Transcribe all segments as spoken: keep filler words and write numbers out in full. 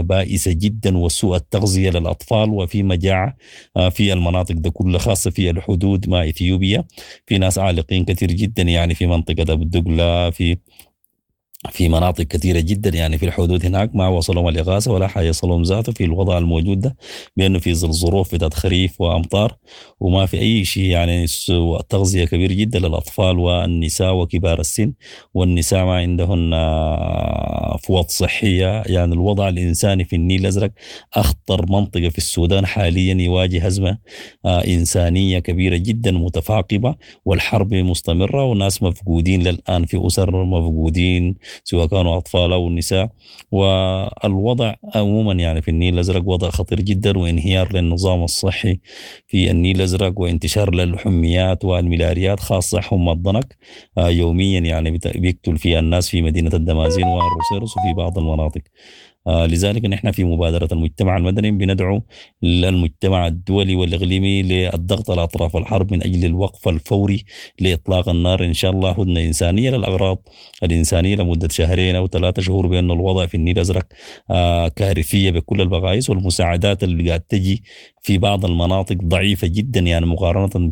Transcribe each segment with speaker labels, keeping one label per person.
Speaker 1: الإنسانية بائسة جدا وسوء التغذية للأطفال وفي مجاعة آه، في المناطق ده كلها خاصة في الحدود مع إثيوبيا. في ناس عالقين كثير جدا يعني في منطقة أبو الدقلة، في في مناطق كثيرة جدا يعني في الحدود هناك ما وصلهم الإغاثة ولا حيصلهم ذاته في الوضع الموجود ده، بأنه في ظل ظروف بتاعت خريف وأمطار وما في أي شيء يعني سوء تغذية كبير جدا للأطفال والنساء وكبار السن، والنساء ما عندهن فوط صحية. يعني الوضع الإنساني في النيل الأزرق أخطر منطقة في السودان حاليا، يواجه أزمة، آه، إنسانية كبيرة جدا متفاقمة، والحرب مستمرة وناس مفقودين للآن، في أسر مفقودين سواء كانوا أطفال أو نساء. والوضع عموما يعني في النيل الأزرق وضع خطير جدا، وانهيار للنظام الصحي في النيل الأزرق، وانتشار للحميات والملاريات خاصة حمى الضنك، آه، يوميا يعني بت-، بيقتل فيها الناس في مدينة الدمازين والروصيرص وفي بعض المناطق. آه، لذلك نحن في مبادرة المجتمع المدني بندعو للمجتمع الدولي والإقليمي للضغط على أطراف الحرب من أجل الوقف الفوري لإطلاق النار، إن شاء الله هدنة إنسانية للأغراض الإنسانية لمدة شهرين أو ثلاثة شهور، بأن الوضع في النيل الأزرق، آه، كارثية بكل المقاييس، والمساعدات اللي قاعد تجي في بعض المناطق ضعيفة جدا يعني مقارنة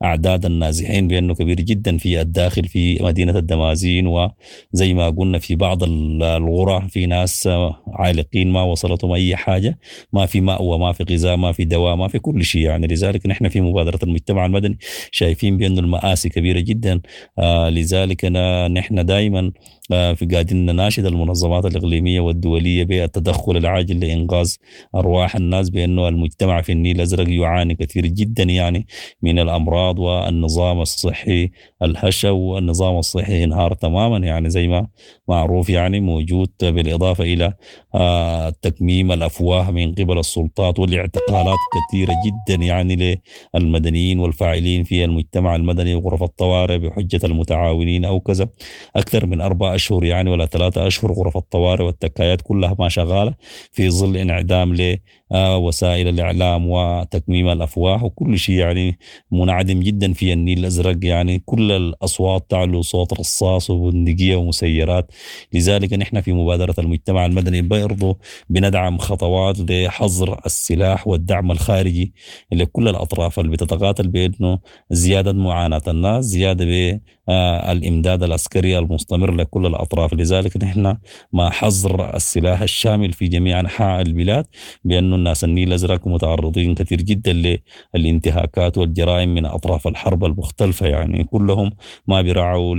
Speaker 1: بأعداد النازحين بأنه كبير جدا في الداخل في مدينة الدمازين، وزي ما قلنا في بعض ال-، القرى في ناس، آه، عالقين ما وصلتهم أي حاجة، ما في مأوى، ما في غذاء، ما في دواء، ما في كل شيء يعني. لذلك نحن في مبادرة المجتمع المدني شايفين بأن المآسي كبيرة جدا، آه، لذلك أنا-، نحن دائما، آه، في قاعدين نناشد المنظمات الإقليمية والدولية بالتدخل العاجل لإنقاذ أرواح الناس، بأنه المجتمع في النيل الأزرق يعاني كثير جدا يعني من الأمراض والنظام الصحي الهشة، والنظام الصحي انهار تماما يعني زي ما معروف يعني موجود، بالإضافة إلى، آه، تكميم الأفواه من قبل السلطات والاعتقالات كثيرة جدا يعني للمدنيين والفاعلين في المجتمع المدني وغرف الطوارئ بحجة المتعاونين أو كذا، أكثر من أربع أشهر يعني ولا ثلاثة أشهر غرف الطوارئ والتكايات كلها ما شغالة، في ظل انعدام ل، آه، وسائل الإعلام وتكميم الأفواه وكل شيء يعني منعدم جدا في النيل الأزرق، يعني كل الأصوات تعلو صوت رصاص وبندقية ومسيرات. لذلك نحن في مبادرة المجتمع المدني برضو بندعم خطوات لحظر السلاح والدعم الخارجي لكل الأطراف اللي بتتقاتل بأنه زيادة معاناة الناس، زيادة ب، آه، الإمداد العسكري المستمر لكل الأطراف. لذلك نحن مع حظر السلاح الشامل في جميع أنحاء البلاد، بأنه الناس النيل الأزرق متعرضين كثير جدا للانتهاكات والجرائم من أطراف الحرب المختلفة، يعني كلهم ما بيراعوا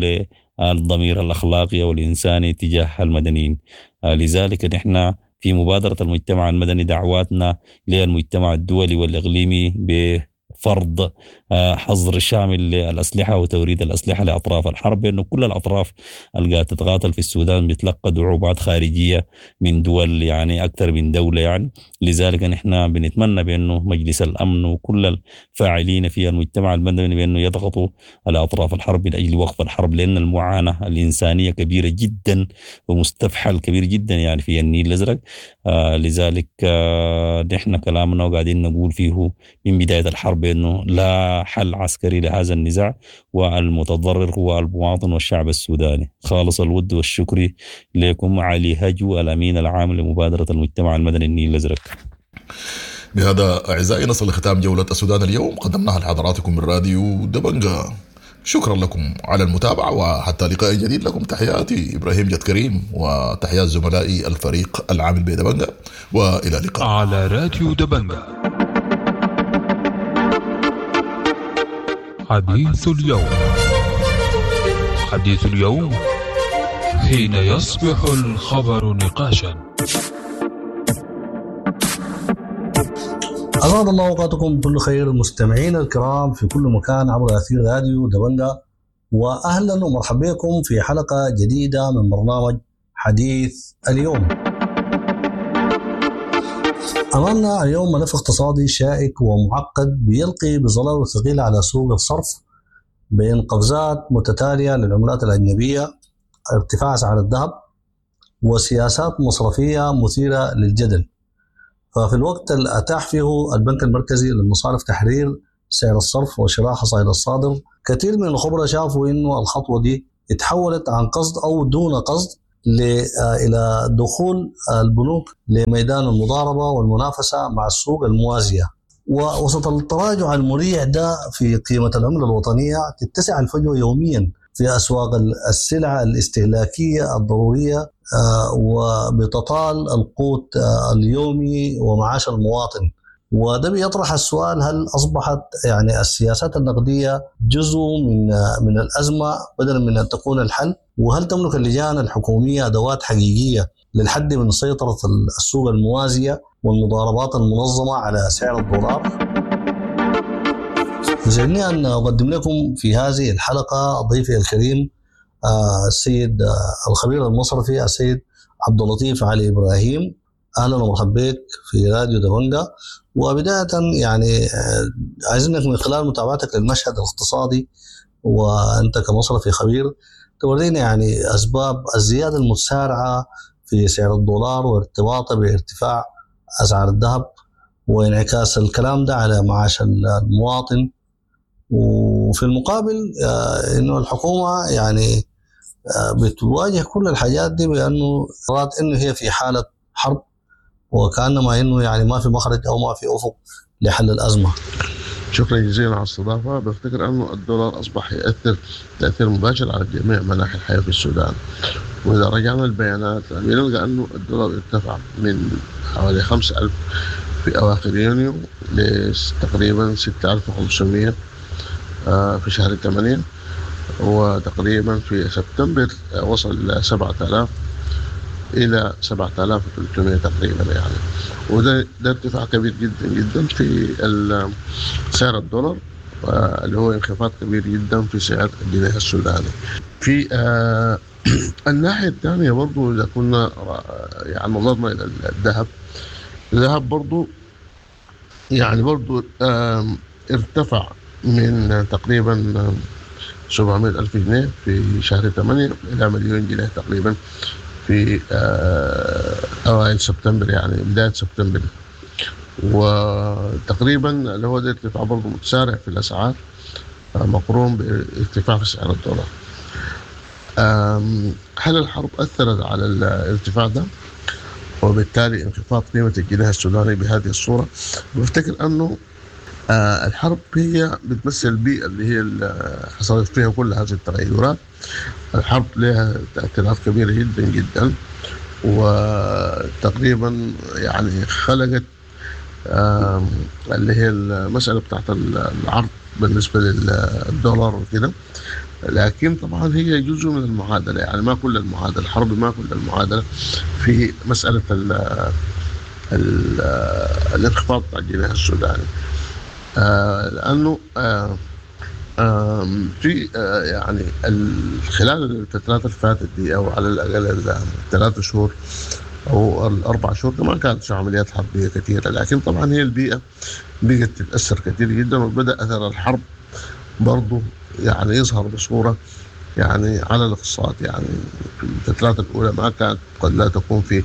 Speaker 1: للضمير الأخلاقي والإنساني تجاه المدنيين. آه، لذلك نحن في مبادرة المجتمع المدني دعواتنا للمجتمع الدولي والإقليمي بفرض، آه، حظر شامل للأسلحة وتوريد الأسلحة لأطراف الحرب، لأنه كل الأطراف اللي قاعدة تتقاتل في السودان بتلقى دعومات خارجية من دول يعني أكثر من دولة يعني. لذلك نحن بنتمنى بأنه مجلس الأمن وكل الفاعلين في المجتمع المدني بأنه يضغطوا على أطراف الحرب من أجل وقف الحرب، لأن المعاناة الإنسانية كبيرة جدا ومستفحل كبير جدا يعني في النيل الأزرق. آه، لذلك، آه، نحن كلامنا وقاعدين نقول فيه من بداية الحرب أنه لا حل عسكري لهذا النزاع، والمتضرر هو المواطن والشعب السوداني. خالص الود والشكر لكم. علي هجو، الأمين العام لمبادرة المجتمع المدني النيل الأزرق.
Speaker 2: بهذا أعزائي نصل لختام جولة السودان اليوم، قدمناها لحضراتكم من راديو دبنجا. شكرا لكم على المتابعة، وحتى لقاء جديد لكم تحياتي إبراهيم جد كريم وتحيات زملائي الفريق العامل بدبنجا، وإلى اللقاء
Speaker 3: على راديو دبنجا. حديث اليوم، حديث اليوم حين يصبح الخبر نقاشا.
Speaker 4: أسعد الله أوقاتكم بكل خير مستمعين الكرام في كل مكان عبر أثير راديو دبنجا، وأهلا ومرحبا بكم في حلقة جديدة من برنامج حديث اليوم. أمامنا اليوم ملف اقتصادي شائك ومعقد بيلقي بظلاله الثقيل على سوق الصرف بين قفزات متتالية للعملات الأجنبية، ارتفاع سعر الذهب، وسياسات مصرفية مثيرة للجدل. ففي الوقت اللي أتاح فيه البنك المركزي للمصارف تحرير سعر الصرف وشراء حصائل الصادر، كثير من الخبراء شافوا إنه الخطوة دي اتحولت عن قصد أو دون قصد الى دخول البنوك لميدان المضاربة والمنافسه مع السوق الموازيه. ووسط التراجع المريع ده في قيمة العملة الوطنية تتسع الفجوة يوميا في اسواق السلع الاستهلاكية الضرورية، وبتطال القوت اليومي ومعاش المواطن. وده بيطرح السؤال، هل اصبحت يعني السياسات النقدية جزء من من الازمة بدلا من ان تكون الحل؟ وهل تملك اللجان الحكومية ادوات حقيقية للحد من سيطرة السوق الموازيه والمضاربات المنظمة على سعر الدولار؟ يسعدني ان اقدم لكم في هذه الحلقة ضيفي الكريم السيد الخبير المصرفي السيد عبد اللطيف علي ابراهيم. اهلا ومرحبا بك في راديو دبنجا. وبداية يعني عايزينك من خلال متابعتك للمشهد الاقتصادي وانت كمصرفي خبير تورينا يعني اسباب الزيادة المتسارعه في سعر الدولار وارتباطه بارتفاع اسعار الذهب وانعكاس الكلام ده على معاش المواطن، وفي المقابل انه الحكومة يعني بتواجه كل الحاجات دي بانه رات انه هي في حاله حرب، وكانما انه يعني ما في مخرج او ما في افق لحل الازمة.
Speaker 5: شكرا جزيلا على الاستضافة. بفتكر انه الدولار اصبح ياثر تاثير مباشر على جميع مناحي الحياة في السودان، واذا رجعنا البيانات بنلقى انه الدولار ارتفع من حوالي خمسة آلاف في اواخر يونيو لتقريبا ستة آلاف وخمسمية في شهر ثمانية، وتقريبا في سبتمبر وصل ل سبعة آلاف الى سبعة آلاف وثلاثمية تقريبا يعني، وده ده ارتفاع كبير جدا جدا في سعر الدولار، اللي هو انخفاض كبير جدا في سعر الجنيه السوداني. في آه الناحية الثانية برضو اذا كنا يعني نظرنا الى الذهب، الذهب برضو يعني برضو آه ارتفع من تقريبا سبعمية ألف جنيه في شهر ثمانية إلى مليون جنيه تقريبا في أوائل سبتمبر، يعني بداية سبتمبر. وتقريبا اللي هو ده ارتفاع برضه متسارع في الأسعار مقرون بارتفاع في سعر الدولار. هل الحرب أثرت على الارتفاع ده وبالتالي انخفاض قيمة الجنيه السوداني بهذه الصورة؟ بفتكر أنه الحرب هي بتمثل البيئة اللي هي اللي حصلت فيها كل هذه التغيرات. الحرب لها تأثيرات كبيرة جدا جدا، وتقريبا يعني خلقت اللي هي المسألة بتاعت العرض بالنسبة للدولار وكده. لكن طبعا هي جزء من المعادلة، يعني ما كل المعادلة، الحرب ما كل المعادلة في مسألة ال ال الانخفاض بتاع الجنيه السوداني، آه لأنه آه آه في آه يعني خلال الفترات اللي فاتت دي، أو على الأقل الثلاث شهور أو الأربع شهور، ما كانت في عمليات حربية كثيرة، لكن طبعا هي البيئة بقت تتأثر كثير جدا، وبدأ أثر الحرب برضه يعني يظهر بصورة يعني على الاقتصاد. يعني في الفترات الأولى ما كانت قد لا تكون في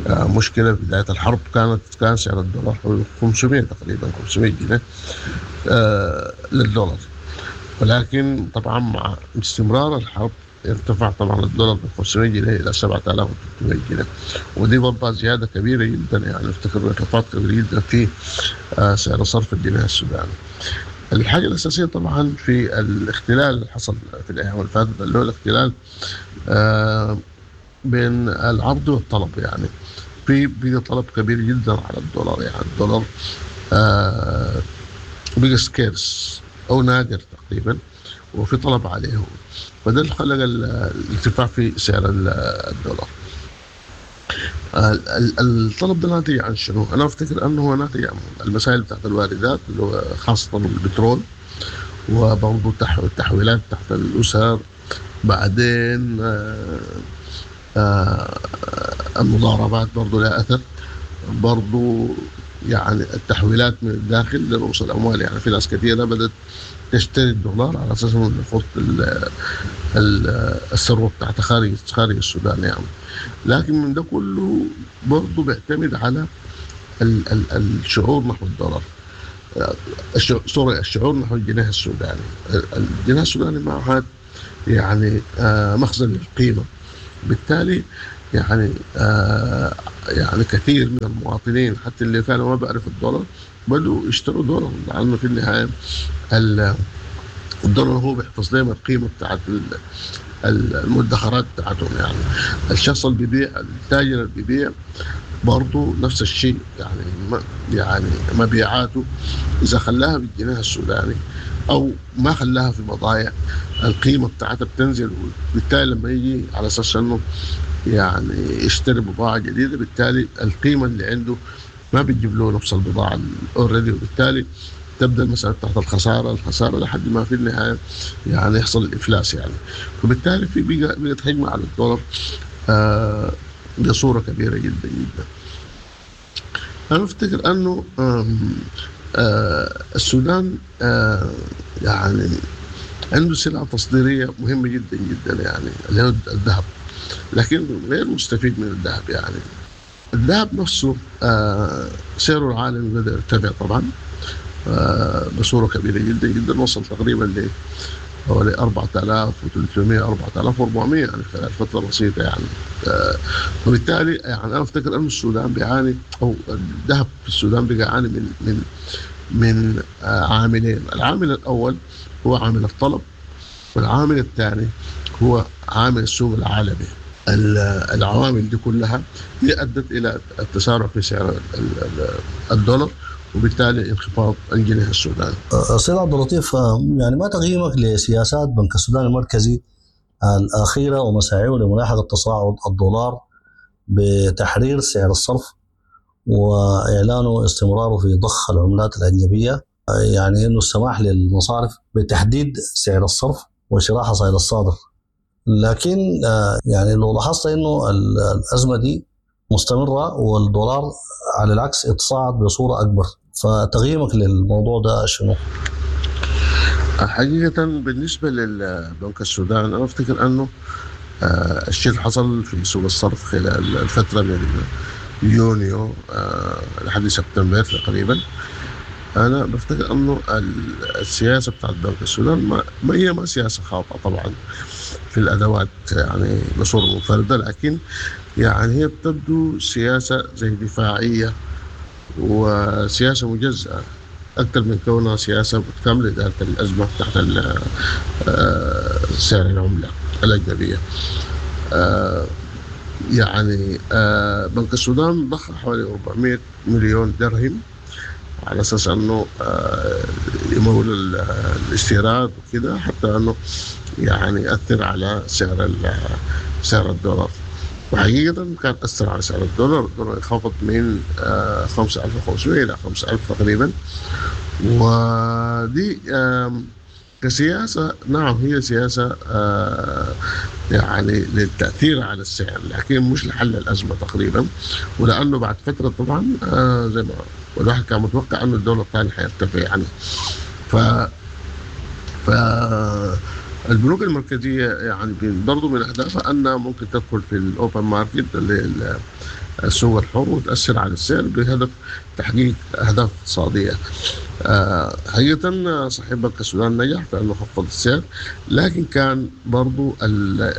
Speaker 5: مشكلة. في بداية الحرب كانت كان سعر الدولار خمسمية تقريبا، خمسمية جنيه آه للدولار، ولكن طبعا مع استمرار الحرب ارتفع طبعا الدولار من خمسمية جنيه الى سبعة آلاف وثلاثمية جنيه، ودي برضه زيادة كبيرة جدا، يعني افتكر انخفاض كبير جدا في آه سعر صرف الجنيه السوداني. الحاجة الاساسية طبعا في الاختلال اللي حصل في الايام اللي فاتت، اللي هو الاختلال آه بين العرض والطلب. يعني في بقى طلب كبير جدا على الدولار، يعني الدولار آه بقى سكيرس او نادر تقريبا، وفي طلب عليه، فده اللي خلق الارتفاع في سعر الدولار. الطلب ده ناتج عن شنو؟ انا افتكر انه هو ناتج عن المسائل بتاعت الواردات اللي هو خاصة البترول، وبرضه التحويلات تحت الاسر، بعدين آه آه المضاربات برضو لها أثر، برضو يعني التحويلات من الداخل لرؤوس الأموال. يعني في ناس كثيرة بدأت تشتري الدولار على أساس إنه يحط الثروة بتاعتها خارج خارج السودان يعني. لكن من ده كله برضو بيعتمد على ال ال الشعور نحو الدولار، سوري الشعور نحو الجنيه السوداني. الجنيه السوداني ما عاد يعني آه مخزن للقيمة، بالتالي يعني آه يعني كثير من المواطنين حتى اللي كانوا ما بيعرفوا الدولار بدوا يشتروا دولار، لانه في النهاية الدولار هو بيحفظ لهم القيمة بتاعت المدخرات بتاعتهم. يعني الشخص اللي بيبيع، التاجر اللي بيبيع برضه نفس الشيء، يعني يعني مبيعاته اذا خلاها بالجنيه السوداني او ما خلاها في بضائع القيمة بتاعتها بتنزل، وبالتالي لما يجي على اساس انه يعني يشتري بضاعة جديدة بالتالي القيمة اللي عنده ما بتجيب له نفس البضاعة already، وبالتالي تبدا المسالة تحت الخسارة الخسارة لحد ما في النهاية يعني يحصل الافلاس يعني. فبالتالي في بقى بقت هجمة على الدولار آه بصورة كبيرة جدا جدا. انا افتكر انه آه السودان آه يعني عنده سلعه تصديريه مهمة جدا جدا يعني اللي هو الذهب، لكن غير مستفيد من الذهب. يعني الذهب نفسه آه سعره العالمي بدا يرتفع طبعا آه بصورة كبيرة جدا جدا، وصل تقريبا ل حوالي أربعة آلاف وثلاثمئة أربعة آلاف وأربعمئة يعني خلال فترة بسيطة يعني. آه وبالتالي يعني انا افتكر ان السودان بيعاني او الذهب في السودان بيعاني من من من آه عاملين. العامل الاول هو عامل الطلب، والعامل الثاني هو عامل السوق العالمي. العوامل دي كلها هي ادت الى التسارع في سعر الدولار وبالتالي انخفاض الجنيه السوداني.
Speaker 4: سيد عبد اللطيف، يعني ما تقييمك لسياسات بنك السودان المركزي الاخيرة ومساعيه لملاحقه تصاعد الدولار بتحرير سعر الصرف واعلانه استمراره في ضخ العملات الاجنبية، يعني انه السماح للمصارف بتحديد سعر الصرف وشراء حصائل الصادر؟ لكن يعني لو لاحظت انه الازمة دي مستمرة والدولار على العكس اتصاعد بصورة اكبر، فتقييمك للموضوع ده شنو؟
Speaker 5: حقيقة بالنسبة للبنك السودان انا افتكر انه الشيء اللي حصل في سوق الصرف خلال الفترة من يونيو لحد سبتمبر تقريبا، انا بفتكر انه السياسة بتاعت بنك السودان ما هي ما سياسة خاطئه طبعا في الادوات يعني بصورة منفردة، لكن يعني هي بتبدو سياسة زي دفاعية وسياسة مجزأه اكثر من كونها سياسة متكاملة لادارة الازمة تحت سعر العملة الاجنبية. يعني بنك السودان ضخ حوالي أربعمئة مليون درهم على اساس انه يمول الاستيراد وكده، حتى انه يعني ياثر على سعر سعر الدولار. وحقيقة كان اثر على سعر الدولار، الدولار انخفض من خمسة آلاف وخمسمئة الى خمسة آلاف تقريبا. ودي كسياسة نعم هي سياسة يعني للتأثير على السعر، لكن مش لحل الأزمة تقريبا. ولأنه بعد فترة طبعا زي ما الواحد كان متوقع أنه الدولار الثاني حيرتفع يعني. ف ف البنوك المركزية يعني برضو من أهدافها أنها ممكن تدخل في ال open market اللي السوق الحر وتأثر على السعر بهدف تحقيق أهداف اقتصادية. آه حقيقة صحيح بنك السودان نجح في أنه خفض السعر، لكن كان برضو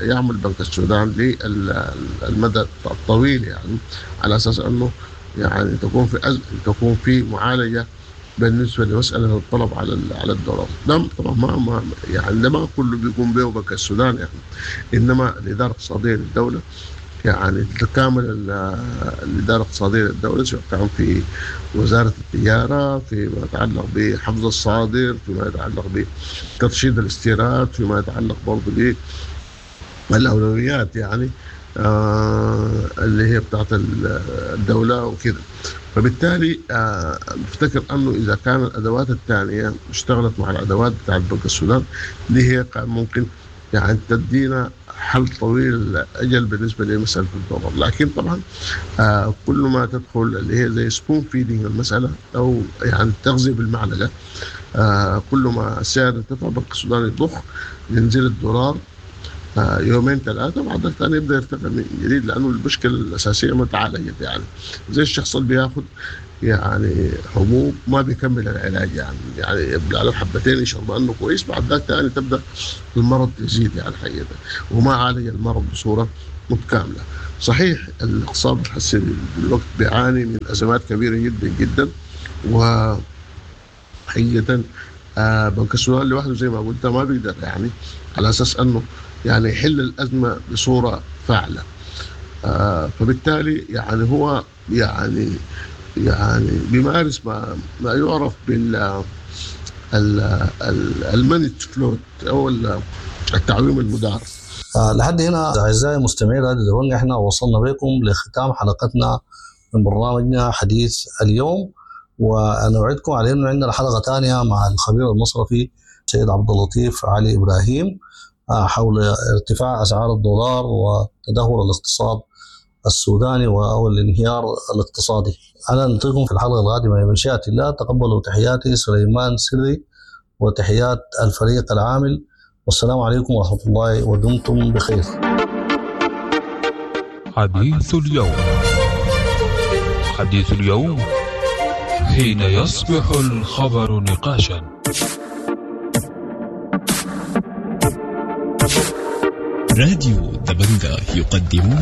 Speaker 5: يعمل بنك السودان للمدى الطويل يعني على أساس أنه يعني تكون في أز... تكون في معالجة بالنسبة لمسألة الطلب على على الدولار. ده طبعا ما, ما يعني ده ما كله بيقوم به بنك السودان يعني، إنما الإدارة الاقتصادية للدولة يعني تتكامل الإدارة الاقتصادية للدولة، سواء كان في وزارة التجارة فيما يتعلق بحفظ الصادر، فيما يتعلق بترشيد الاستيراد، فيما يتعلق برضه بالأولويات يعني آه اللي هي بتاعت الدولة وكده. فبالتالي آه بفتكر أنه إذا كان الأدوات الثانية اشتغلت مع الأدوات بتاعت بنك السودان دي هي ممكن يعني تدينا حل طويل الاجل بالنسبة لمسالة الدولار. لكن طبعا آه كل ما تدخل اللي هي زي spoon feeding المسالة او يعني التغذية بالمعلقه، آه كل ما السعر ارتفع بنك السودان يضخ ينزل الدولار آه يومين ثلاثة بعد ثاني يبدا يرتفع من جديد، لانه المشكلة الاساسية ما تعالجت. يعني زي الشخص اللي بياخذ يعني حبوب ما بيكمل العلاج يعني يعني يبلع له حبتين يشرب انه كويس، بعد ذاك ثاني تبدا المرض يزيد يعني حقيقة، وما عالج المرض بصورة متكاملة. صحيح الاقتصاد حسي بالوقت بيعاني من ازمات كبيرة جدا جدا، وحقيقة آه بنك السودان لوحده زي ما قلت ما بيقدر يعني على اساس انه يعني يحل الازمة بصورة فاعله. آه فبالتالي يعني هو يعني يعني بيمارس ما ما يعرف بال ال managed float او التعويم المدار.
Speaker 4: آه لحد هنا اعزائي المستمعين راديو دبنجا، احنا وصلنا بكم لختام حلقتنا من برنامجنا حديث اليوم، ونوعدكم على انه عندنا حلقة ثانية مع الخبير المصرفي سيد عبد اللطيف علي ابراهيم آه حول ارتفاع اسعار الدولار وتدهور الاقتصاد السوداني او الانهيار الاقتصادي. انا نلقيكم في الحلقة القادمة بمشيئة الله. تقبلوا تحياتي سليمان سري وتحيات الفريق العامل، والسلام عليكم ورحمة الله، ودمتم بخير.
Speaker 3: حديث اليوم، حديث اليوم حين يصبح الخبر نقاشا.
Speaker 6: راديو دبنجا يقدم